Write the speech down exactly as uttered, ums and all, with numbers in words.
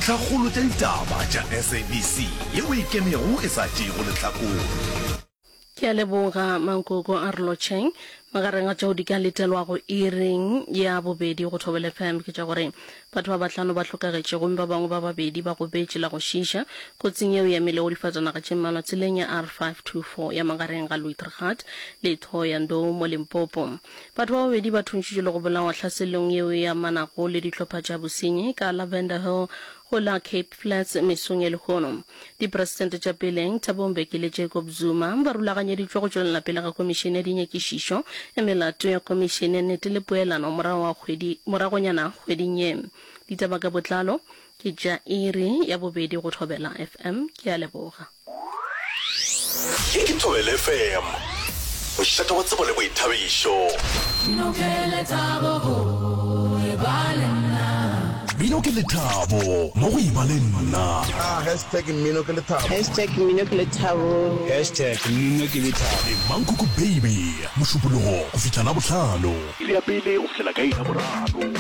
Dintlhakgolo tša ditaba tša SABC yeo e ikemego e sa tšeego lehlakore. Ke a leboga Mankoko a re lotšheng. Magareng a tšeo di ka letelwago iring ya bobedi go Thobela FM ke tša gore batho ba bahlano ba hlokagetše gomme ba bangwe ba babedi ba gobetše la go šiiša kotsing yeo e amilego difatanaga tše mmalwa tseleng ya R five two four ya magareng ga Louis-Trichardt le Thohoyandou mo Limpopo. Batho ba babedi ba thuntšitšwe le go bolawa tlhaselong yeo e amanago le dihlopha tša bosenyi ka Lavender Hill go la Cape Flats mesong ya lehono. Dipresidente tša peleng, Thabo Mbeki le Jacob Zuma, ba rulaganyeditšwe go tšwelela pele ga Komišene ya Dinyakišišo ya Melato ya Komišene ya Nnete le Poelano morago ga kgwedi moragonyana kgweding ye. Ditaba ka botlalo ke tša iri ya bobedi go Thobela F M. Ke a leboga. Ye ke Thobela F M, mošate wa tsebo le boithabišo. Mmino ke lethabo go e ba le nna. Mmino ke lethabo mo go e ba le nna. Ah, hashtag mmino ke lethabo. Hashtag mmino ke lethabo. Hashtag mmino ke lethabo. Le Mankoko Baby, Mošupologo go fihla Labohlano. Iri ya pele go fihlela ka iri ya boraro.